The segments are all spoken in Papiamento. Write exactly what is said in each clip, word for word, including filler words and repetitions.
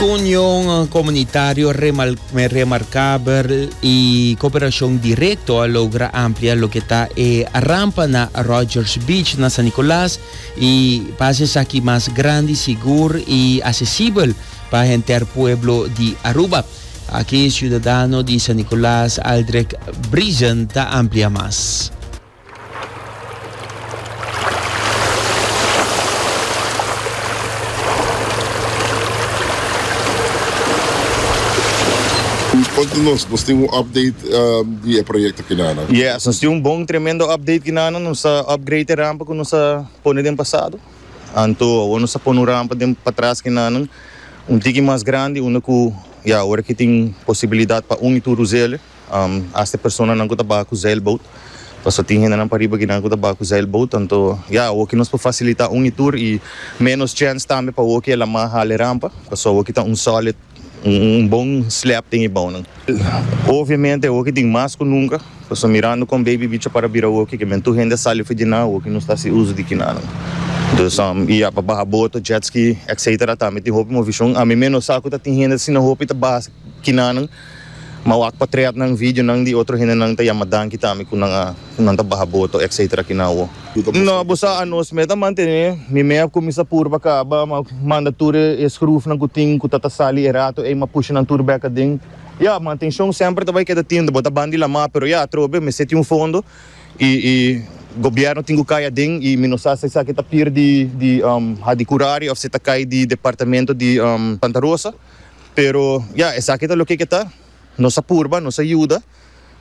Ku union komunitario remarkabel i kooperashon direkto a logra amplia loke ta e rampa na Rogers Beach na San Nicolas i pa aki mas grandi, sigur i aksesibel pa henter pueblo di Aruba. Aki siudadano di San Nicolas, Aldrich Brisen, ta amplia mas. Konta nos, nos tin un update um, di e proyekto akinan. Yes, nos tin un bon, tremendo update akinan, nos a upgrade e rampa ku nos a pone den pasado. Anto, nos a pone un rampa den patras akinan, un tiki mas grandi, unda ku, ja, awor ku tin posibilidat pa un i tur us'é, um, hasta personanan ku ta baha ku zeilboot. Paso tin hendenan pariba ku nan ku ta baha ku zeilboot, anto, ja, awor ku nos por fasilitá un i tur i menos chance tambe pa awor ku e laman hala rampa, paso awor ku ta un solid un, un bon slab tin bou. Obviamente, awor tin mas ku nunka, paso mirando kon Baby Beach a bira awor ku men tur hende sali for di nan, awor no ta hasi uso di akinan. Dus um, ja, pa baha boto, jet ski, et cetera. Tambe tin hopi moveshon. Ami mes sa ku tin hende asina hopi ta baha akinan. M'a wak portretnan, videonan di otro hendenan ta yama danki tambe ku nan nan ta baha boto, et cetera akinan. No, bo sa anos mes ta mantené, mi mes a kuminsá purba kaba, manda tur e schroefnan ku tin ku ta sali e rato e m'a pusha nan tur bek aden. Ja, mantenshon semper ta bai keda tin, bo ta band'i laman, pero ja, atrobe, mester tin un fondo i i gobièrnu tin ku kai aden i mi no sa si esaki ta pir di di um, Hadicurari òf si ta kai di departamento di um, Santa Rosa. Pero ja, esaki ta loke ta. Nos a purba, nos a yuda.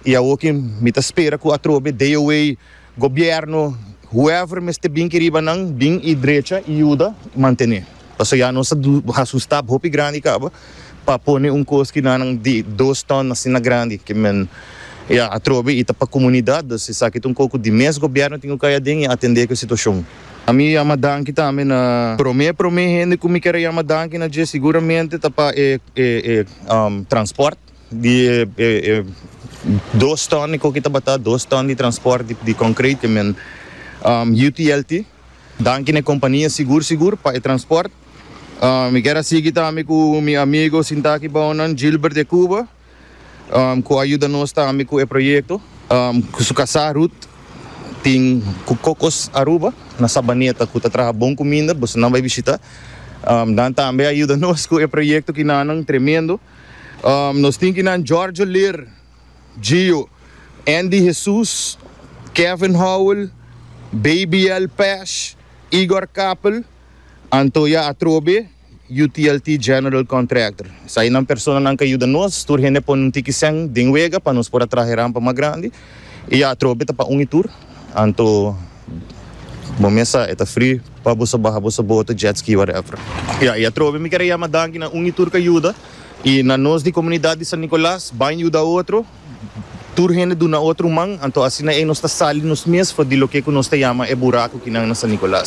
I awor ku mi ta spera ku atrobe D O A, gobièrnu, whoever mester bin riba nan, bin i drecha i yuda mantené. Paso ya nos a hasi un stap hopi grandi kaba pa pone un kos ku nan di dos ton asina grandi ku men ja atrobe i ta pa komunidat, dus esaki ta un poko di mes gobièrnu tin ku kai aden i atendé ku e situashon. Ami yama danki tambe na promé promé hende ku mi ke yama danki na dje siguramente ta pa e e e um, transport di e, e, e, dos ton ku tabata dos ton di transport di, di concrete men um, U T L T. Danki na kompania sigur sigur pa e transport. um, mi ke sigui tambe ku mi amigu sintá aki bou, Gilbert de Cuba, um, ku a yuda nos tambe ku e proyekto, um, ku su kasá Ruth tin ku Cocos Aruba na Sabaneta ku ta traha bon kuminda, bosonan bai bishitá. um, nan tambe a yuda nos ku e proyekto akinan tremendo. um, nos tin akinan Giorgio Leer, Gio, Andy Jesus, Kevin Howell, Baby L. Pash, Igor Kappel, anto ya atrobe, U T L T General Contractor. Esakinan personanan ku a yuda nos, tur hende pone un tiki sèn den wega pa nos por a traha rampa mas grandi. I atrobe ta pa un i tur. Anto bo mes sa ta free pa bo baha bo boto, jet ski, whatever. Ja, i atrobe mi ke yama danki na un i tur ku a yuda. I na nos di komunidat di San Nicolas, ban yuda otro. Tur hende duna otro man, anto asina ei nos ta sali nos mes for di loke ku nos ta yama e buraku akinan na San Nicolas.